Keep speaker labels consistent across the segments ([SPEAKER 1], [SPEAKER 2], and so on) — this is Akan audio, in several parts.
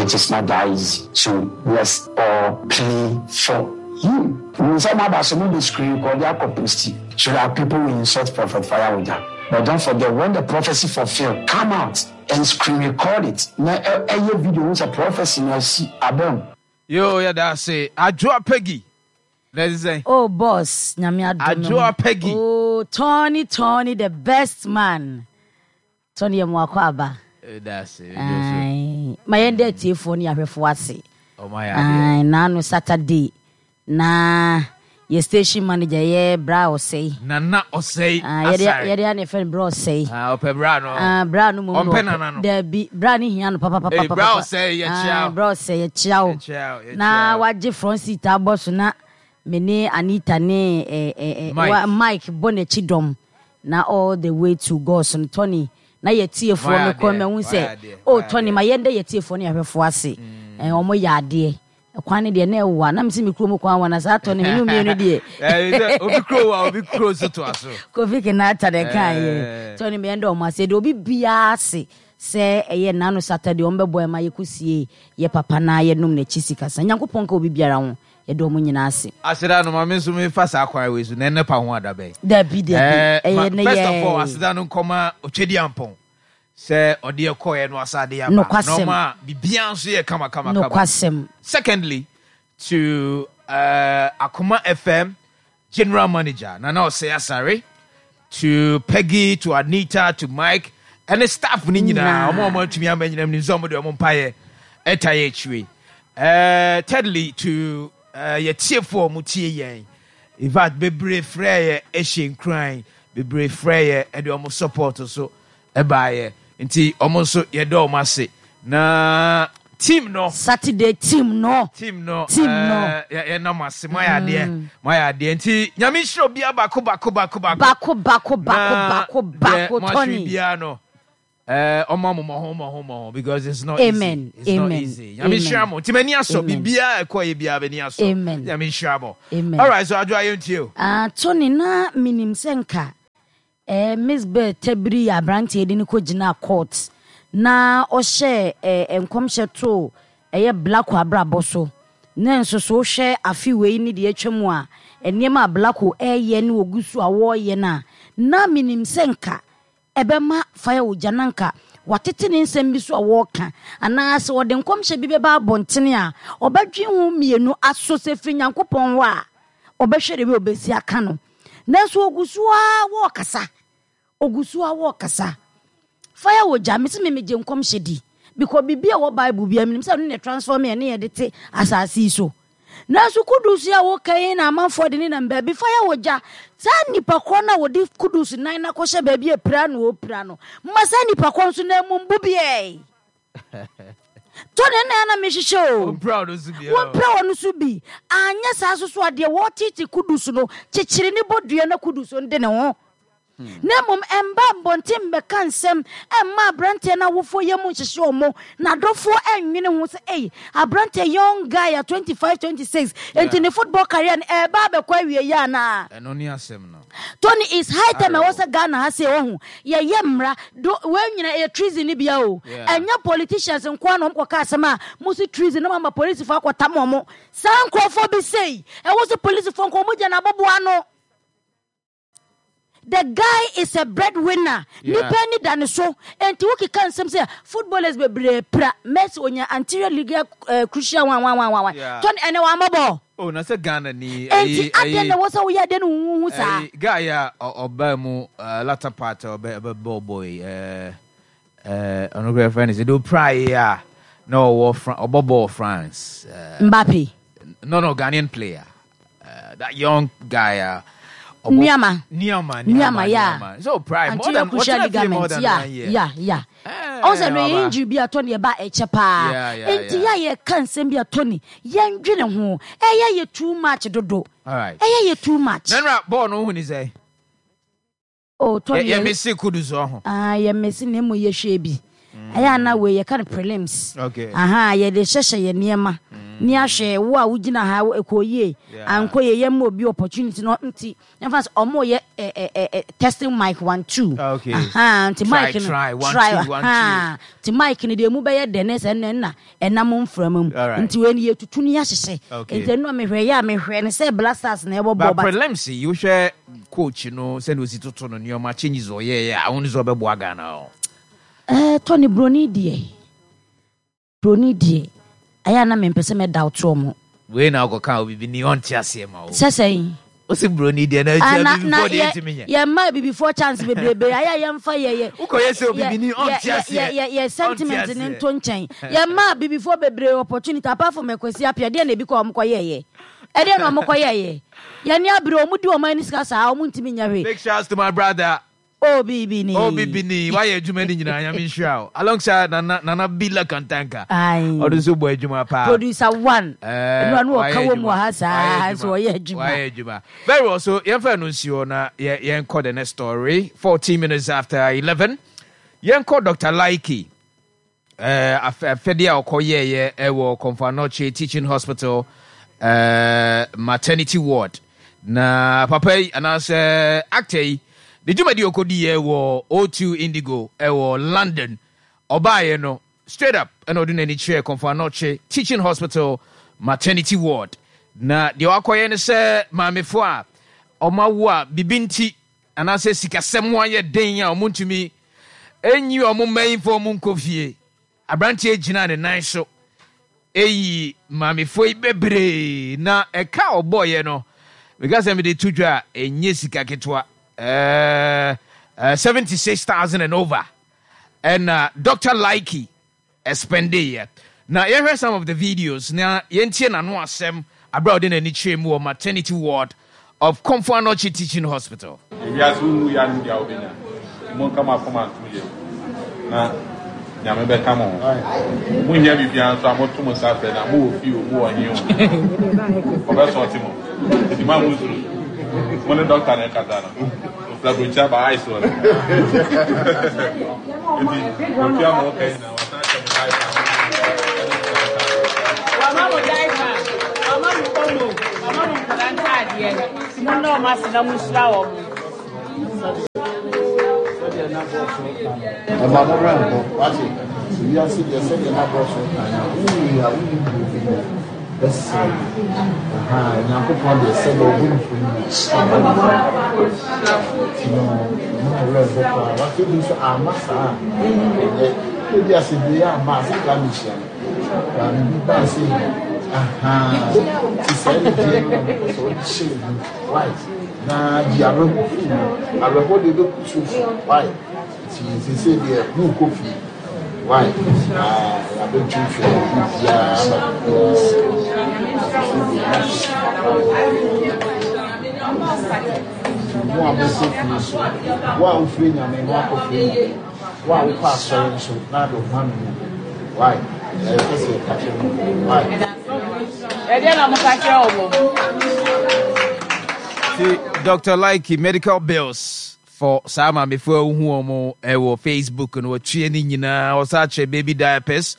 [SPEAKER 1] It is not that easy. So let's all pray for him. Nsɛm aba so mo de screen record akɔ posti so that people will insult Prophet Fire But don't forget when the prophecy fulfill, come out and screen record it. Na ɛyɛ video ho sɛ prophecy na asi abam.
[SPEAKER 2] Yo, yɛda ase. Adwoa Peggy. Na ɛte sɛn?
[SPEAKER 3] Oh boss, nyame adom me ho.
[SPEAKER 2] Adwoa Peggy.
[SPEAKER 3] Oh, Tony, Tony, the best man. Tony yɛ mo akɔ aba.
[SPEAKER 2] Yɛda ase.
[SPEAKER 3] Aye. Ma yɛn dɛ atiefoɔ ne ahwɛfoɔ ase.
[SPEAKER 2] Ɔmo ayɛ adeɛ.
[SPEAKER 3] Aye, naano Saturday na yɛ station manager yɛ Bra Ɔsɛe.
[SPEAKER 2] Nana Ɔsɛe
[SPEAKER 3] ah, Asare. Yɛde yɛde yɛfrɛ no Bra Ɔsɛe.
[SPEAKER 2] Ah, ɔpɛ bra no.
[SPEAKER 3] Ah, bra no mom.
[SPEAKER 2] Ɔmpɛ nana no.
[SPEAKER 3] Dabi, bra no hia no papa papa papa.
[SPEAKER 2] Bra Ɔsɛe yɛkyia.
[SPEAKER 3] Ah, Bra Ɔsɛe yɛkyia wo. Na wagye front seat abɔ so na me ne Anita ne eh, eh, eh, Mike, Mike bɔ n'akyi dɔm na all the way to God's no Tony na yɛtiefoɔ mekɔ mahu sɛ oh Tony ma yɛndɛ yɛtiefoɔ ne yɛhwɛfoɔ ase. Mm. Eh, wɔn yɛ adeɛ. Kwan no deɛ na ɛwa na mese me kurom kwan wa na saa tɔ no mene mmienu deɛ.
[SPEAKER 2] Obi kuro wa obi kuro nso toa so.
[SPEAKER 3] Kofi Kinata na ɛka yɛ tɔ no mmiɛn dɛ ɔmo ase deɛ obi biara ase sɛ ɛyɛ nano Saturday ɔmo bɛbɔ ɛma yɛkɔ sie yɛ papa na yɛnom n'akyi sikasa Nyankopɔn nka obi biara ho yɛde ɔmo nyinaa ase.
[SPEAKER 2] Aseda no ma me nso mefa saa kwan wei so na ɛnɛ pa ho ada bɛn.
[SPEAKER 3] Dabi dabi ɛyɛ ne yɛ.
[SPEAKER 2] First of all aseda no nkɔma Otwediampɔn Sɛ ɔde yɛ kɔɛ no asa de aba.
[SPEAKER 3] Nokwasɛm.
[SPEAKER 2] Na ɔma biribiara nso yɛ kama kama kama.
[SPEAKER 3] Nokwasɛm.
[SPEAKER 2] Secondly, to uh, Akoma FM General Manager Nana Osei Asare, to Peggy, to Anita, to Mike, ɛne staff no nyinaa, ɔmo a ɔmo atumi ama nyinam nim sɛ ɔmo de ɔmo mpaeɛ ɛta yɛ akyire. Uh, thirdly, to uh, yɛtiefoɔ ɔmo tie yɛn. In fact, bebree frɛ yɛ ɛhyɛ nkuran, bebree frɛ yɛ ɛde ɔmo support so ɛbaeɛ nti ɔmo nso yɛdɔ ɔmo ase na team no.
[SPEAKER 3] Saturday team no.
[SPEAKER 2] Team no.
[SPEAKER 3] Team no.
[SPEAKER 2] Ɛɛ yɛnam ase mo ayɛ adeɛ mm. mo ayɛ adeɛ nti nyame nhyira obiara baako baako baako baako.
[SPEAKER 3] Baako baako baako baako baako
[SPEAKER 2] Tony.
[SPEAKER 3] Deɛ
[SPEAKER 2] mo ahwere biara no ɛɛ ɔmo mo ho mo ho mo ho because it's not
[SPEAKER 3] Amen.
[SPEAKER 2] easy. It's
[SPEAKER 3] Amen.
[SPEAKER 2] not easy. Nyame nhyira mo nti m'ani asɔ biribiara ɛkɔ yɛ biara m'ani asɔ.
[SPEAKER 3] Amen.
[SPEAKER 2] Nyame nhyira mo.
[SPEAKER 3] Amen.
[SPEAKER 2] Alright so adwo ayɛ ntie o.
[SPEAKER 3] Ah Tony na minim sɛ nka. Eh, Miss Bell Tabiri yɛ aberanteɛ de no kɔgyinaa court na ɔhyɛɛ eh, nkɔmhyɛ too ɛyɛ Blacko abrabɔ so. Na nso so wohwɛ afe wei ne deɛ atwa mu a, nneɛma a Blacko ɛreyɛ ne ɔgu so a wɔreyɛ no a, na menim sɛ nka ɛbɛma fire ogya na nka watete ne nsɛm bi so a wɔreka anaa sɛ ɔde nkɔmhyɛ bi bɛba abɔntene a, ɔbɛdwen ho mmienu aso sɛ firi Nyankopɔn hɔ a, ɔbɛhwɛ de wei ɔbɛsi aka no. Nanso ogu so ara wɔrekasa. Ogu so ara wɔrekasa. Fire wɔ gya, mese me megye nkɔmhyɛ di. Because biribi a ɛwɔ Bible biara menim sɛ ɛno na transform yɛn ne yɛde te asase yi so. Nanso Kudus yi a woka yi na amanfoɔ de ne nam baabi. Fire wɔ gya. Saa nnipa korɔ no a wɔde Kudus nan no akɔhyɛ baabi a pira na ɔpira no, ma saa nnipa korɔ nso nan mu mbu biɛ. Tony na na mehwehwɛ o.
[SPEAKER 2] Wɔmpira ɔno nso bi.
[SPEAKER 3] Wɔmpira ɔno nso bi. Anyɛ saa nso so a deɛ wɔretete Kudus no, kyekyere ne bodua na Kudus no de ne ho. Na mmom ɛmba mbɔnten mbɛka nsɛm ɛmma aberanteɛ no awofoɔ yam nhyehye wɔn, n'adɔfoɔ ɛnnwene ho sɛ ei, aberanteɛ young guy a 25, 26, enti ne football career no ɛreba abɛkɔ awieeɛ anaa?
[SPEAKER 2] Ɛno ne asɛm no.
[SPEAKER 3] Tony it's high time ɛwɔ sɛ Ghana ha sei wahu yɛyɛ mmra do wei nyina ɛyɛ treason ne bia o ɛnyɛ politicians nkoa na wɔn kɔka asɛm a mo si treason na mo ama polisifoɔ akɔtam wɔn saa nkurɔfoɔ bi sei ɛwɔ sɛ polisifoɔ nka wɔn gya na aboboa ano the guy is a breadwinner nipa ani da ne so enti wokeka nsɛm sɛ footballers bebree pira Messi onya anterior liga uh, crucial one one one one Tony ɛnɛ wɔamɔ bɔɔl
[SPEAKER 2] Oh na sɛ Ghana ni
[SPEAKER 3] Enti adɛn na ɛwɔ sɛ woyɛ adeɛ no huhuhu saa?
[SPEAKER 2] Ɛyi guy a ɔbaa mu latter part a ɔbɛ ɔbɛ bɔɔ bɔɔ yi ɛɛ ɛɛ ɔno kura fɛn ne sɛ de opira yi a na ɔwɔ Fran ɔbɔ bɔɔl France.
[SPEAKER 3] Mbappe.
[SPEAKER 2] No Ghanaian player that young guy a.
[SPEAKER 3] Nuama.
[SPEAKER 2] Nuama
[SPEAKER 3] Nuama yeah.
[SPEAKER 2] So opira more
[SPEAKER 3] Anterior
[SPEAKER 2] than
[SPEAKER 3] crucial
[SPEAKER 2] ɔtena fie more
[SPEAKER 3] ligament
[SPEAKER 2] than
[SPEAKER 3] yeah
[SPEAKER 2] one year.
[SPEAKER 3] yeah yeah. Ɔn sɛ no yɛ injury bi a Tony ɛba ɛkyɛ paa. Enti yɛ a yɛka nsɛm bi a Tony yɛndwene ho. Ɛyɛ yɛ too much dodo.
[SPEAKER 2] Alright.
[SPEAKER 3] Ɛyɛ yɛ too much.
[SPEAKER 2] Nana bɔɔl no wohu ne sɛ?
[SPEAKER 3] Oh Tony
[SPEAKER 2] yɛ mese Kudus ɔho.
[SPEAKER 3] Ah yɛ mese na emu yɛ hwɛ bi. Ɛyɛ ana wei yɛka no prelims.
[SPEAKER 2] Okay.
[SPEAKER 3] Aha yɛde hyehyɛ yɛ nneɛma. Ne ahwɛ wo a wogyina ha ɛkɔ yie ankɔ yie yɛmma obi opportunity no nti yɛmfa sɛ ɔmo yɛ testing mic 1 2. Aha, nti mic no try aha, nti mic no deɛ emu bɛyɛ dɛ ne sɛ ɛnna ɛnna ɛnam mframa mu nti wei no yɛtutu ne yɛahyehyɛ. Nti ɛno a mehwɛ yɛ a mehwɛ ne sɛ Black Stars na ɛbɔ bɔɔl.
[SPEAKER 2] But prelims yi, wohwɛ coach no sɛnea osi toto no nneɛma, changes ɔyɛɛyɛ a, wohu sɛ ɔbɛboa Ghana o?
[SPEAKER 3] Ɛɛ Tony, broni deɛ broni deɛ ɛyɛ a na mempɛ sɛ mɛ doubt wɔn.
[SPEAKER 2] Wei na ɔkɔka obibi ni ɔnte aseɛ ma wo.
[SPEAKER 3] Sɛ sɛn?
[SPEAKER 2] Wosi broni deɛ na ɛkyɛ abibifoɔ deɛ ntumi nyɛ.
[SPEAKER 3] Yɛ mma abibifoɔ chance bebrebe ayɛ a yɛmfa yɛ yɛ.
[SPEAKER 2] Wokɔyɛ sɛ obibi ni ɔnte aseɛ.
[SPEAKER 3] Yɛ yɛ sentiment ne nto nkyɛn. Yɛ mma abibifoɔ bebree opportunity apart from Akwasi Appiah, deɛ na ebi kɔ wɔn kɔ yɛ yɛ. Ɛdeɛ na wɔn kɔ yɛ yɛ. Yɛn ni abere wɔn di wɔn ani sika saa wɔn ntumi nyɛ hwee.
[SPEAKER 2] Big shouts to my brother.
[SPEAKER 3] Obibini.
[SPEAKER 2] Obibini, wayɛ adwuma no nyinaa, Nyame nhyira wo. Alongside Nana, Nana Bila Kantanka. Ɔno nso bɔ adwuma paa.
[SPEAKER 3] Producer one. Ɛnu ano ɔka wɔ mu ha saa nso ɔyɛ adwuma.
[SPEAKER 2] Wayɛ adwuma. Very well, so yɛmfa ɛno nsi hɔ na yɛnkɔ the next story. 14 minutes after 11. Yɛnkɔ Dr. Laiki. Eh, afɛdeɛ a ɔkɔyɛeɛ ɛwɔ Komfo Anokye Teaching Hospital maternity ward. Na papa yi anaasɛ actor yi ne dwumadi a ɔkɔdiiɛ wɔ O2 Indigo ɛwɔ London. Ɔbaeɛ no straight up ɛna ɔde n'ani kyerɛɛ Komfo Anokye Teaching Hospital maternity ward. Na deɛ wakɔyɛ ne sɛ maamefoɔ a wɔawo a biribi nti anaasɛ sikasɛm ho ayɛ den a wɔntumi nyi wɔn mma yi mfa wɔn nkɔ fie. Aberanteɛ gyinaa ne nan so eyi maamefoɔ yi bebree na ɛka a ɔbɔeɛ no, meka sɛ mede to dwa a, ɛnyɛ sika ketewa. Ɛɛ, 76,000 and over ɛna Dr. Likey ɛspɛndeeɛ. Na yɛhwɛ some of the videos na yɛntie n'ano asɛm aberɛ a ɔde n'ani kyerɛɛ mu wɔ maternity ward of Komfo Anokye Teaching Hospital.
[SPEAKER 4] Ewiase wo nwu ya no deɛ wobɛnya nti monka mo akoma nto yam na Nyame bɛka mo ho. Mo hia biribiara nso a moto mo nsa frɛ no a mowɔ fie o mowɔ he o ɔbɛsɔɔte mo nti ma mo nsuro mo ne dɔkta na ɛkasa no. Ofura burokyi aba ice wɔ ne ho. Nti otua ma ɔka nyinaa wasan ahyɛ mo diaper.
[SPEAKER 5] Wama mo diaper, wama mo omo, wama mo nkwadaa ntaadeɛ. Mo nnɔ wɔn ase na mo nhyira wɔn.
[SPEAKER 6] Sɛdeɛ na bɔs ka no, ɛma mo werɛ nkɔ. Wate? Wiase deɛ sɛdeɛ na bɔs ka no, wowui a wonni deɛ wobɛnya. Bɛsrɛ wo. Ahaa, Nyankopɔn deɛ sɛdeɛ ɔbɔ mfoni no, ɔbɔ no saa. Nti no, ɛma wo werɛ ho koraa. Wate bi nso amma saa a, ɛnyɛ. Ebi a sɛ wei amma a, sɛ koraa mehyia no. Maame bi baa sɛ yi. Ahaa, nti saa anigyeɛ no na mepɛ sɛ wode hyɛ wo mu. Why? Na yi awerɛho firi mu. Awerɛhoɔ deɛ ɛbɛku so so. Why? Nti seesei deɛ morekɔ fie. Why? Ah, yɛabɛtwintwɛn biribiara ama biribiara asi. Seesei deɛ moakɔ fie. Nti mo a mokɔ fie so, wo a wofiri Nyame no akɔfiri Nyame, wo a wokɔ asɔre nso na ade wo ho ano mu. Why? Ɛyɛ sɛ yɛka kyerɛ mo. Why?
[SPEAKER 5] Ɛdeɛ na moka kyerɛ wɔn.
[SPEAKER 2] Ti Dr. Likey medical bills for saa maamefo a wohu wɔn wɔ Facebook no, wɔtua ne nyinaa. Wɔsan kyerɛ baby diapers,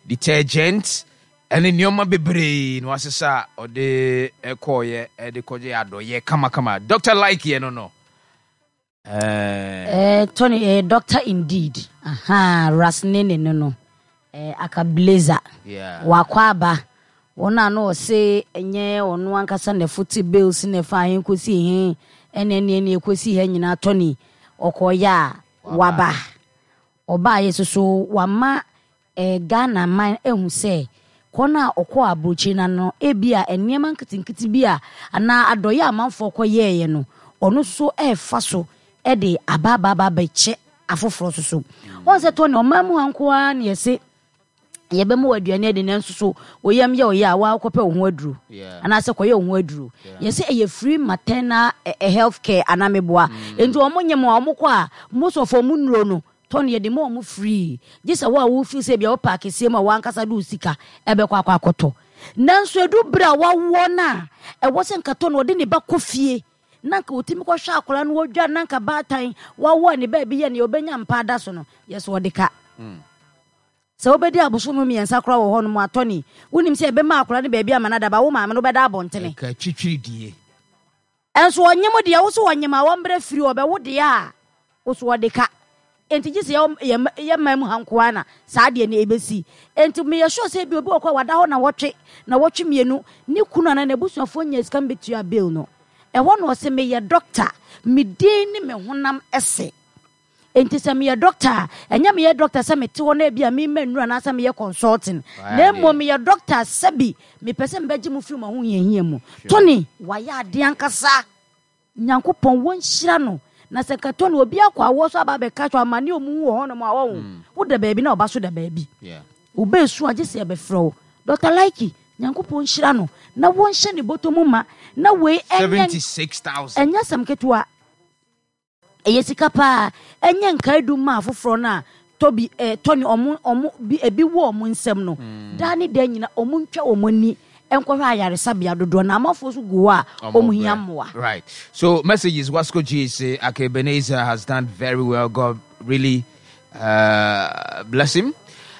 [SPEAKER 2] detergent, ɛne nneɛma bebree na wasesa a ɔde kɔɔyɛ de kɔgye adɔyɛ kamakama. Dr. Like yɛ no no.
[SPEAKER 3] Eh, Tony, eh, doctor indeed. Aha, Rasnene no no. Eh, aka blazer.
[SPEAKER 2] Yeah.
[SPEAKER 3] Wakɔ aba. Wɔn a na ɔse ɛnyɛ ɔno ankasa na ɛfote bills na ɛfa he kɔsi he ɛne ɛne ɛne ɛkɔsi ha nyinaa, Tony ɔkɔɔyɛ a waba. Ɔbaayɛ so so wama eh, Ghana man ehu sɛ kɔ no a ɔkɔɔ aburokyire no ano ebi a nneɛma nketenkete bi a anaa adɔyɛ a amanfoɔ kɔyɛɛyɛ no ɔno so ɛɛfa so ɛde aba aba aba abɛkyɛ afoforɔ so so. Wɔn sɛ Tony, ɔman mu ha nko ara na yɛse yɛbɛma wɔ aduane adi, nanso so oyam yɛ ɔyɛ a wakɔpɛ wo ho aduro anaasɛ kɔyɛ wo ho aduro. Yɛsɛ ɛyɛ free maternal health care anaa meboa. Nti wɔn nyɛ mu a wɔn kɔ a, most of wɔn nnuro no tɔn yɛde ma wɔn free, gye sɛ wo a wo feel sɛ ebia wopɛ akɛseɛ mu a wankasa de wo sika ɛbɛkɔ akɔ akɔtɔ. Nanso edu bere a wawoɔ no a ɛwɔ sɛ nka tɔ no ɔde ne ba kɔ fie na nka otumi kɔhwɛ akwadaa no wɔdwa na nka baatan wawoɔ a ne baabi yɛ nea ɔbɛnya mpa ada so no, yɛ so ɔde ka. Sɛ wobɛdi abosome mmiɛnsa koraa wɔ hɔnom a, Tony, wonim sɛ yɛbɛma akwadaa no baabi ama no ada, ba wo maame no wobɛda abɔntene.
[SPEAKER 2] Ɛka twitwiridie.
[SPEAKER 3] Nso ɔnyem deɛ, wo so ɔnyem a wɔmbrɛ firi ɔbɛwo deɛ a, wo so ɔde ka. Enti gye sɛ yɛ yɛ man mu ha nko ara na saa adeɛ no ɛbɛsi. Enti meyɛ sure sɛ ebia obi wɔ hɔ a wada hɔ nawɔtwe, nawɔtwe mmienu, ne kunu anaa n'abusuafoɔ nyaa sika mbɛtua bill no. Ɛhɔ na ɔse meyɛ doctor, me din ne me honam se. Enti sɛ meyɛ dɔkta a, ɛnyɛ meyɛ dɔkta sɛ mete hɔ na ebia merema nnuru anaasɛ meyɛ consulting, na mmom meyɛ dɔkta sɛbi mepɛ sɛ mebɛgye mo firi mo ahohiahia mu. Tony, wayɛ adeɛ ankasa. Nyankopɔn wɔnhyira no. Na sɛ nka Tony obi akɔ awoɔ so aba abɛka kyerɛ amane a ɔmu hu wɔ hɔnom a ɔho. Woda baabi na ɔba so da baabi. Wobɛɛsu a gye sɛ yɛbɛfrɛ wo. Dɔkta Likey, Nyankopɔn nhyira no na wɔnhyɛ ne bɔtɔ mu ma na wei ɛnyɛ ɛnyɛ asɛm ketewa. Ɛyɛ sika paa. Ɛnyɛ nkaedum ma afoforɔ no a tɔ bi eh, tɔ ne ɔmo ɔmo bi ebi wɔ ɔmo nsam no. Daa ne daa nyina ɔmo ntwa ɔmo ani nkɔhwɛ ayaresabea dodoɔ na amanfoɔ nso gu hɔ a ɔmo hia mmoa.
[SPEAKER 2] Right. So messages Wasco G say Ake Ebenezer has done very well. God really uh, bless him.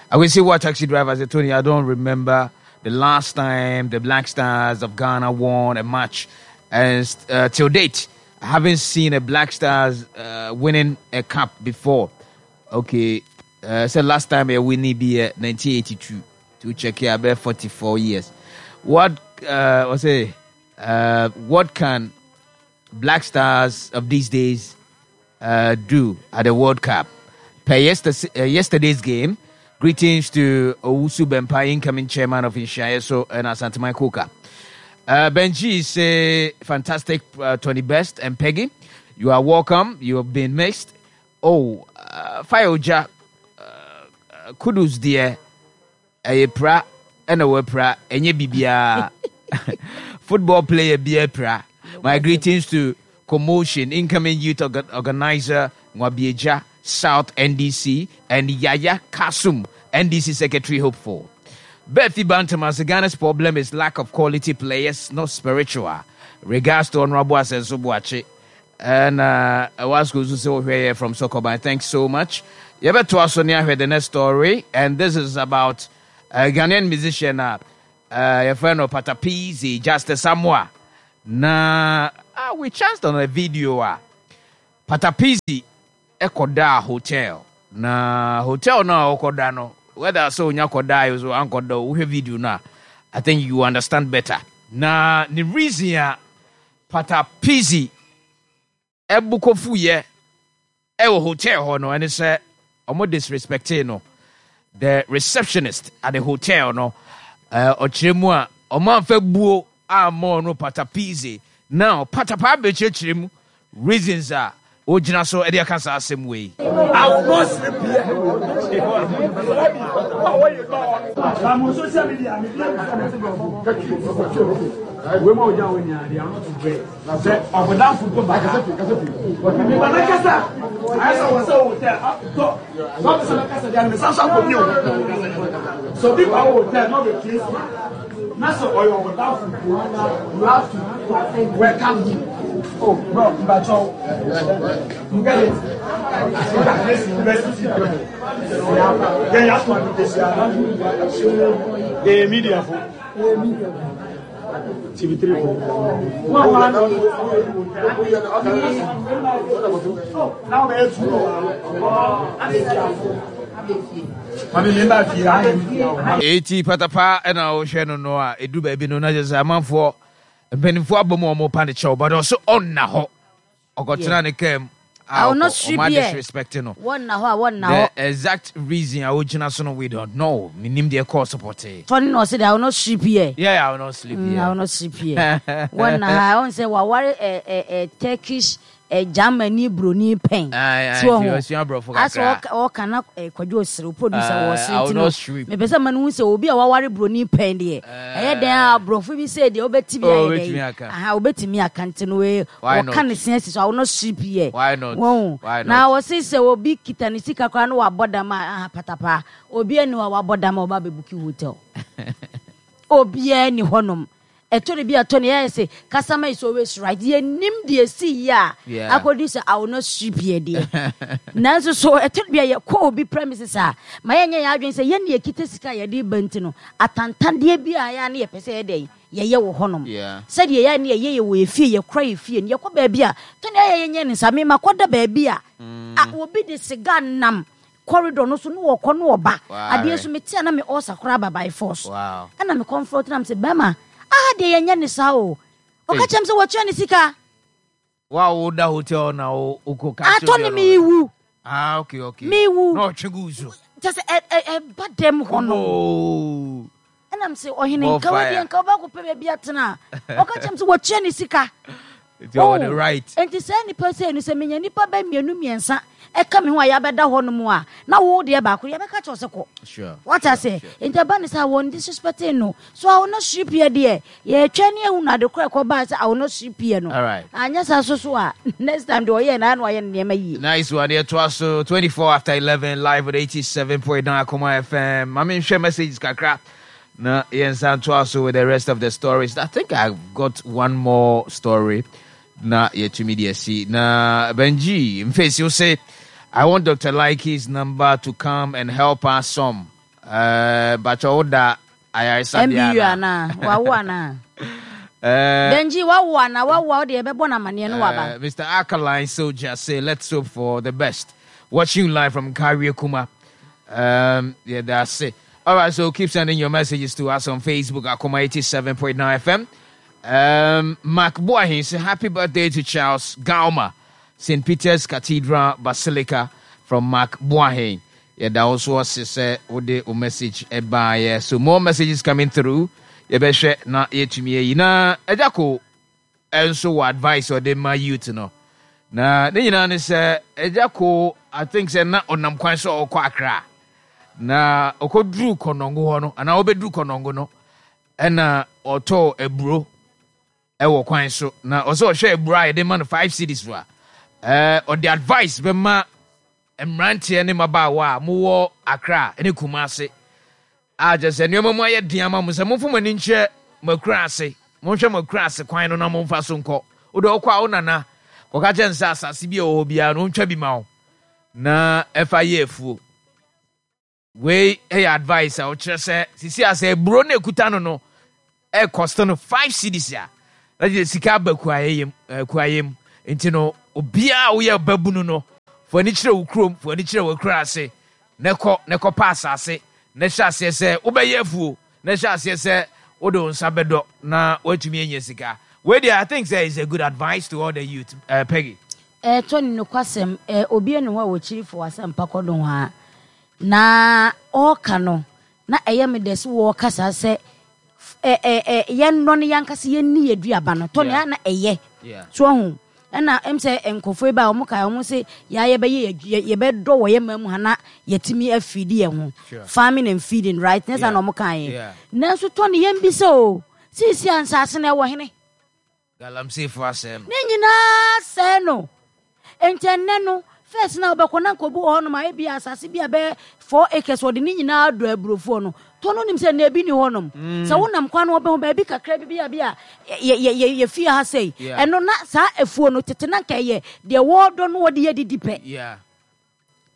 [SPEAKER 2] I will see what taxi driver said, Tony, I don't remember the last time the Black Stars of Ghana won a match. And uh, till date, I haven't seen a Black Stars uh, winning a cup before. Okay, uh, so last time a winning be 1982 to check here about 44 years. What uh, was it? Uh, what can Black Stars of these days uh, do at the World Cup? Per yesterday, uh, yesterday's game, greetings to Owusu Bempa, incoming chairman of Inshayeso and Asantemai Koka. Uh, Benji is a fantastic uh, Tony Best and Peggy. You are welcome. You have been missed. Oh, uh, Fireoja, uh, kudos dear. Ɛyɛ pra ɛna wapira ɛnyɛ bibiaa football player biaa pira my greetings to commotion incoming youth organizer Nwabieja South NDC and Yaya Kasum NDC secretary hopeful Bethy Bantam Ghana's problem is lack of quality players not spiritual regards to Honorable Asenso Boakye And uh, Wasco nso sɛ wohwɛ yɛ from Sokoban. Thanks so much. Yɛbɛtoa so ne ahwɛ the next story and this is about a Ghanaian musician a uh, yɛfrɛ no Patapizi Justice Samoa. Na uh, we chanced on a video a Patapizi ɛkɔdaa hotel. Na hotel no a ɔkɔda no whether sɛ onya kɔdaa so ankɔda wohwɛ video no a I think you understand better. Na ne reason a Patapisi bo kofuiɛ wɔ hotel hɔ no ɛne sɛ ɔmo disrespectee no. The receptionist at the hotel no ɔkyerɛ mu a ɔmo amfa buo amma ɔno Patapisi. Now Patapaa bɛkyerɛkyerɛ mu reasons a ogyina so de aka saa asɛm wei.
[SPEAKER 7] I will not sleep here. You have to welcome him. Oh, bro, Mbacho, you get it? Look at this university. Then you have to The media for TV3 for. Now
[SPEAKER 2] Eti patapa na wohwɛ no no a edu baabi no na kyerɛ sɛ amanfoɔ mpanimfoɔ abɔ mu a wɔpa ne kyɛw but ɔso ɔnna hɔ ɔkɔtena ne kaa mu a ɔkɔ ɔma disrespect no
[SPEAKER 3] wɔnna hɔ a wɔnna hɔ
[SPEAKER 2] the exact reason a wogyina so no we don't know menim deɛ kɔɔ so pɔtee
[SPEAKER 3] Tɔne na ɔse de I will not sleep here.
[SPEAKER 2] Yeah, I will not sleep here.
[SPEAKER 3] I will not sleep here. Wɔnna ha ɔn sɛ waware ɛ ɛ ɛ Turkish Germany broni pɛn.
[SPEAKER 2] So ɔho.
[SPEAKER 3] Asɛ ɔka na Kwadwo ɔsere, producer wɔ ɔsere nti no. Mepɛ sɛ ma no hu sɛ obi a waware broni pɛn deɛ. Ɛyɛ dɛn a aborɔfo bi sɛ deɛ wobɛti bi ayɛ dɛn. Aha, wobɛtumi aka nti no wɔka ne se asi so, I will not sleep here. Wɔn. Na wɔse sɛ obi kita ne sika koraa na wabɔ dam a, aha patapaa. Obi ani hɔ a wabɔ dam a ɔba abɛbuki hotel. Obiara ni hɔnom. Ɛtɔ da bi a Tony yɛayɛ sɛ customer is always right. Yɛnnim deɛ ɛsii yɛ a
[SPEAKER 2] Yeah.
[SPEAKER 3] akɔdu sɛ I will not sweep here deɛ. Nanso so ɛtɔ da bi a yɛkɔ obi premises a, ma yɛnyɛ yɛn adwene sɛ yɛn na yɛkita sika a yɛde reba nti no, atantandeɛ bi a ɛyɛ a na yɛpɛ sɛ yɛyɛ dɛn? Yɛyɛ wɔ hɔnom.
[SPEAKER 2] Yeah.
[SPEAKER 3] Sɛdeɛ ɛyɛ a na yɛyɛ yɛ wɔ yɛn fie, yɛkora yɛn fie no, yɛkɔ baabi a, Tony ayɛ yɛnyɛ ne saa. Me makɔda baabi a, a obi de cigar nam corridor no so na ɔkɔ na ɔba. Adeɛ nso mete a na me ulcer koraa aba by force. Ɛna me comfort na me sɛ bɛrima aha deɛ yɛnyɛ ne saa o. Ɔka kyerɛ me sɛ wɔtua ne sika.
[SPEAKER 2] Wa wo da hotel na wo kɔ ka kyerɛ
[SPEAKER 3] Atɔ ne mewu.
[SPEAKER 2] Ah okay okay.
[SPEAKER 3] Mewu.
[SPEAKER 2] Na ɔtwe gu so.
[SPEAKER 3] Kyɛ sɛ ɛ ɛ ɛba dɛm hɔ no. Ɛna me sɛ ɔhene nka wo deɛ nka wobɛkɔ pɛ baabi atena. Ɔka kyerɛ me sɛ wɔtua ne sika.
[SPEAKER 2] Nti ɔwɔ the right.
[SPEAKER 3] Nti saa nipa sei no sɛ menya nipa bɛ mmienu mmiɛnsa ɛka me ho a yɛabɛda hɔ nom a na wo deɛ baako yɛbɛka kyerɛ sɛ kɔ.
[SPEAKER 2] Sure.
[SPEAKER 3] Wate aseɛ? Nti ɛba ne sɛ wɔn disrespecting no. So I will not sweep here deɛ yɛtwɛn ne ahu no ade korɔ ɛkɔ baa sɛ I will not sweep here no.
[SPEAKER 2] Alright.
[SPEAKER 3] Anyɛ saa so so a next time deɛ ɔyɛ na na wayɛ ne nneɛma yie.
[SPEAKER 2] Nice one. Yɛtoa so 24 after 11 live at 87.9 Akoma FM. Ma menhwɛ messages kakra. Na yɛnsan ntoa so with the rest of the stories. I think I've got one more story na yɛtumi de asi. Na Benji Mfesi wo se, I want Dr. Likey's number to come and help us some. Uh, Bacha wo da ayaresabea
[SPEAKER 3] MBU anaa? Wawo anaa? Benji wawo anaa? Wawo a wode yɛbɛbɔ no amanneɛ no waba.
[SPEAKER 2] Mr. Alkaline Soldier say, let's hope for the best. Watching live from Karie Kuma. Yeah, that's it. All right, so keep sending your messages to us on Facebook, Akoma 87.9 FM. Mark Boahin say happy birthday to Charles Gauma, St. Peter's Cathedral Basilica from Mark Boahin. Yeah, that also was say ode o message ɛbaayɛ. So more messages coming through. Yɛbɛhwɛ na yɛtumi ayi na ɛgya ko nso wɔ advice ɔde ma youth no. Na ne nyinaa ne sɛ ɛgya ko I think sɛ na ɔnam kwan so ɔkɔ Accra. Na ɔkɔduru Kɔnɔngo hɔ no anaa ɔbɛduru Kɔnɔngo no ɛna ɔtɔɔ aburo ɛwɔ kwan so na ɔsɛ ɔhwɛ aburo a yɛde ma no 5 cedis so a ɛɛ ɔde advice bɛma mmeranteɛ ne mmabaawa a mowɔ Accra ne Kumasi a kyerɛ sɛ nneɛma mu ayɛ den ama mo sɛ momfa mo ani nkyerɛ mo akura ase monhwɛ mo akura ase kwan no na momfa so nkɔ wode ɔkɔ a wo nana kɔka kyerɛ no sɛ asase bi a ɛwɔ hɔ biara no ɔntwa bi ma wo na ɛfa yɛ afuo wei yɛ advice a ɔkyerɛ sɛ sisi a sɛ aburo no ekuta no no ɛkɔsto no 5 cedis a na kyerɛ sika aba kuayɛ kuayɛ mu nti no obiara a woyɛ babunu no fo ani kyerɛ wo kurom fo ani kyerɛ w'akura ase na kɔ na kɔpa asase na hyɛ aseɛ sɛ wobɛyɛ afuo na hyɛ aseɛ sɛ wode wo nsa bɛdɔ na woatumi anya sika wei deɛ I think sɛ is a good advice to all the youth Peggy.
[SPEAKER 3] Tony nokwasɛm obi nni hɔ a wɔkyiri fo asɛmpa kɔ nohoa na ɔreka no na ɛyɛ me dɛ sɛ wɔreka saa sɛ yɛnnɔ no yɛankasa yɛnni yɛ duaba no Tony a na ɛyɛ so ahu ɛna ɛm sɛ nkurɔfoɔ yi ba a wɔn kae wɔn se yɛa yɛbɛyɛ yɛbɛdɔ wɔ yɛ man mu ha na yɛtumi afidi yɛn ho farming and feeding right ne saa na wɔn kaeɛ nanso Tony yɛn bisa o seesie a nsaase no ɛwɔ hene.
[SPEAKER 2] Galamseyfo asɛe no.
[SPEAKER 3] Ne nyinaa sɛe no. Enti ɛnnɛ no, first na wobɛkɔ na nka obi wɔ hɔnom a ebi asase bi a bɛyɛ 4 acres wɔde ne nyinaa dɔ aburofoɔ no. Tɔ no nim sɛ nnɛ ebi ni hɔnom. Sɛ wonam kwan no wobɛhu baabi kakra bi bi a bi a yɛfie ha sei. Ɛno na saa afuo no tete na nka ɛyɛ deɛ wɔredɔ no wɔde yɛ didi pɛ.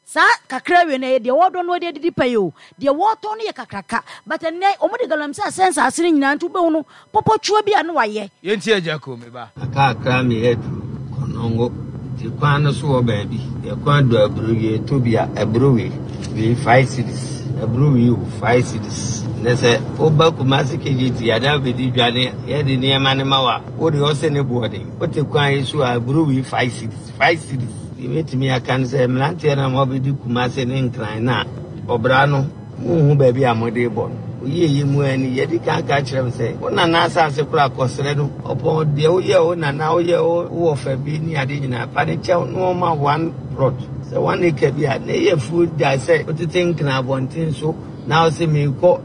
[SPEAKER 3] Saa kakra wei no ɛyɛ deɛ wɔdɔ no wɔde adidi pɛ yi o. Deɛ wɔtɔn no yɛ kakraka. But ɛnnɛ wɔn de galamsey asɛn nsaase no nyinaa nti wobɛhu no pɔpɔtwoa bi a na wayɛ.
[SPEAKER 2] Yɛntie Agya Koo, me ba.
[SPEAKER 8] Kakra me aduru Konongo nti kwan no so wɔ baabi yɛ kwan do aburo wie tɔ bi a aburo wei wei 5 cedis aburo wei o 5 cedis ne sɛ woba Kumasi KJT ada bɛdi dwa ne yɛde nneɛma ne ma wa wode ɔsɛ ne boɔden wote kwan yi so a aburo wei 5 cedis 5 cedis. Deɛ mɛtumi aka ne sɛ mmeranteɛ no a moabɛdi Kumase ne Nkran no a ɔbra no monhu baabi a mode rebɔ no. Woyieyɛ mu ara ni, yɛadi kan aka akyerɛ mo sɛ wo nana asase koraa kɔsrɛ no, ɔpɔn deɛ woyɛɛ wo nana, woyɛɛ wo wɔfa bi ne ade nyinaa, fa no kyɛw na ɔmma wo one plot, sɛ one acre bi a, na ɛyɛ afuo gyae sɛ wotete Nkran abɔnten so na wose merekɔ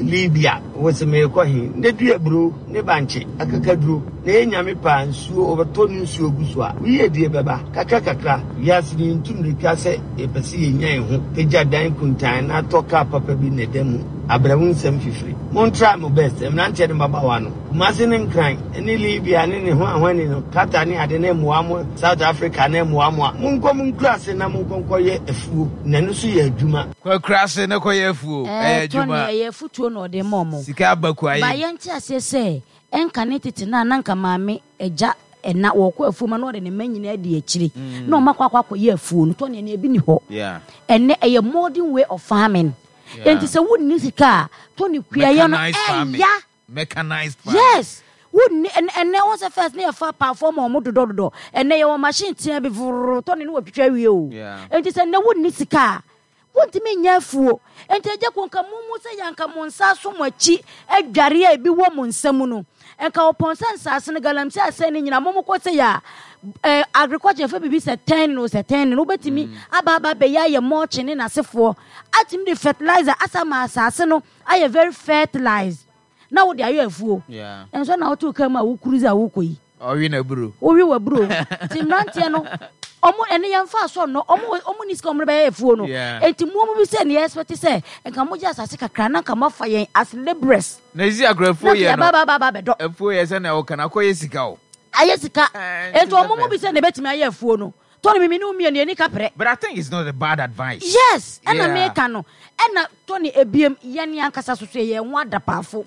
[SPEAKER 8] Libya, wose merekɔ he, na dua aburo ne bankye, akakaduro. Na ɛyɛ Nyame pɛ a, nsuo, ɔbɛtɔ ne nsuo gu so a, wo yiedie bɛba, kakra kakra. Wiase no, yɛntu mmirika sɛ yɛpɛ sɛ yɛnya yɛn ho, pagya dan kuntann na atɔ kaa papa bi na ɛda mu. Abrɛ wo nsɛm fifiri. Mon try mo best, mmeranteɛ ne mmabaawa no. Kumasi ne Nkran ne Libya ne ne hwanhwani no, Qatar ne ade ne mmoa mo, South Africa ne mmoa mo a, monkɔ mo nkuraase na monkɔ nkɔyɛ afuo, na ɛno nso yɛ adwuma.
[SPEAKER 2] Kɔ akuraase na kɔyɛ afuo, ɛyɛ
[SPEAKER 3] Ɛɛ, Tony,
[SPEAKER 2] adwuma.
[SPEAKER 3] ɛyɛ afutuo na ɔde ma wɔn.
[SPEAKER 2] Sika aba kuayɛ
[SPEAKER 3] Ba
[SPEAKER 2] mu.
[SPEAKER 3] yɛnte aseɛ sɛ, ɛnkane tete no a na anka maame, agya, ɛna, wɔkɔ afuo mu a na ɔde ne mma nyinaa di akyire na wɔn akɔ akɔ akɔyɛ afuo no. Tony, ɛnɛ ebi nni hɔ.
[SPEAKER 2] Yeah.
[SPEAKER 3] Ɛnɛ ɛyɛ modern way of farming.
[SPEAKER 2] Yeah.
[SPEAKER 3] Enti sɛ wonni sika a, Tony, kuayɛ no
[SPEAKER 2] Mechanized farming.
[SPEAKER 3] ɛya.
[SPEAKER 2] Mechanized farming.
[SPEAKER 3] Yes. Wonni ɛnɛ ɛnɛ wɔn sɛ first ne yɛ fa paafoɔ ma wɔn dodɔ dodɔ. Ɛnɛ yɛ wɔ machine tea bi vurr Tony ne wɔtwitwa awie o.
[SPEAKER 2] Yeah.
[SPEAKER 3] Enti sɛ nnɛ wonni sika a, wontumi nyɛ afuo. Enti agya ko nka mo mu sɛ yɛ anka mo nsa aso mo akyi adware a ebi wɔ mo nsa mu no. Nka wɔpɔn sɛ nsaase no galamsey asɛe ne nyinaa mo mo kɔ sɛ yɛ a eh, agriculture yɛfɛ biribi sɛ tɛn no sɛ tɛn no wobɛtumi aba aba abɛyɛ ayɛ mulching ne n'asefoɔ atumi de fertilizer asa ma asaase no ayɛ very fertilized na wode ayɛ afuo.
[SPEAKER 2] Yeah.
[SPEAKER 3] Nso na wote kaa mu a wo cruise a wokɔ yi.
[SPEAKER 2] Ɔwe n'aburo.
[SPEAKER 3] Wowe w'aburo. Nti mmeranteɛ no ɔmo ɛne yɛn fa so no ɔmo ɔmo ni sika ɔmo de bɛyɛ afuo no.
[SPEAKER 2] Yeah.
[SPEAKER 3] Nti mo ɔmo bi sɛ ne yɛ expect sɛ nka mo gye asase kakra na nka mo afa yɛn as labourers.
[SPEAKER 2] Na esi akora afuo
[SPEAKER 3] Na
[SPEAKER 2] yɛ
[SPEAKER 3] nka
[SPEAKER 2] no.
[SPEAKER 3] yɛba ba ba ba bɛdɔ.
[SPEAKER 2] Afuo yɛ sɛ na ɛwɔ kan akɔyɛ sika o.
[SPEAKER 3] Ayɛ sika.
[SPEAKER 2] Eh,
[SPEAKER 3] Nti
[SPEAKER 2] nti
[SPEAKER 3] ɔmo
[SPEAKER 2] sɛ
[SPEAKER 3] mo bi sɛ na ebetumi ayɛ afuo no. Tony mi mi ne wo mmienu yɛni kaprɛ.
[SPEAKER 2] But I think it's not a bad advice.
[SPEAKER 3] Yes, ɛna
[SPEAKER 2] Yeah.
[SPEAKER 3] meka no. Ɛna Tony ebiem yɛne ankasa so so yɛn ho adapaafo.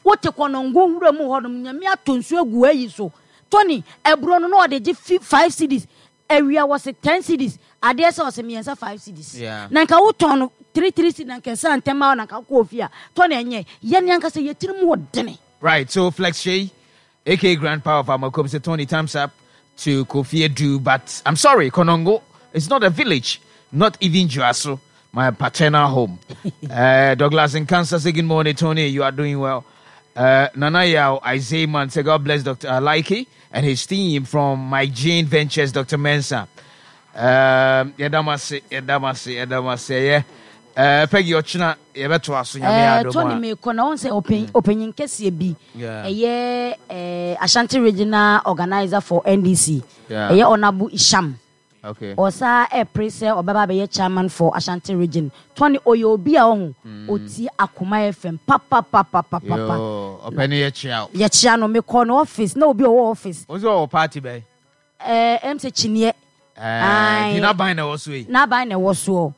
[SPEAKER 3] Wote kɔnɔngo nwura mu hɔnom, Nyame atɔ nsuo agu ayi so. Tony, aburo no na ɔde gye fi five cedis, awia wɔse ten cedis, adeɛ sɛ ɔse mmiɛnsa five cedis.
[SPEAKER 2] Yeah.
[SPEAKER 3] Na nka wotɔn no three three cedis na nka ɛsɛ ntɛm a na nka wokɔ ofie a, Tony ɛnyɛ. Yɛne ankasa yɛ tirim wɔ dene.
[SPEAKER 2] Right, so Flex Shay, aka Grandpa of Amakom, say Tony, thumbs up to Kofi Edu, but I'm sorry, Konongo, it's not a village, not even Juaso, my paternal home. Douglas in Kansas, say good morning, Tony, you are doing well. Nana Yao, Isaiah Man, say God bless Dr. Alaiki and his team from My Jane Ventures, Dr. Mensah. Yɛdamase, yɛdamase, yɛdamase, yeah. Peggy Ochina, yɛbɛtoa so nyame adom
[SPEAKER 3] Tony
[SPEAKER 2] a.
[SPEAKER 3] mekɔ na wɔn sɛ ɔpanyin ɔpanyin kɛseɛ bi
[SPEAKER 2] Yeah.
[SPEAKER 3] ɛyɛ Ashanti Regional Organizer for NDC
[SPEAKER 2] Yeah.
[SPEAKER 3] ɛyɛ Honourable Isham
[SPEAKER 2] Okay.
[SPEAKER 3] ɔsaa ɛpere sɛ ɔbɛba abɛyɛ chairman for Ashanti Region. Tony ɔyɛ obi a ɔho ɔtie Akoma FM papapapapapa.
[SPEAKER 2] Yo, ɔpɛni yɛkyia wo.
[SPEAKER 3] Yɛkyia no, mekɔ no office na obi a ɔwɔ office.
[SPEAKER 2] Wo sɛ ɔwɔ party bɛn?
[SPEAKER 3] Ɛm sɛ kyiniɛ.
[SPEAKER 2] Aye.
[SPEAKER 3] Aye.
[SPEAKER 2] N'aban na ɛwɔ so yi.
[SPEAKER 3] N'aban na ɛwɔ soɔ.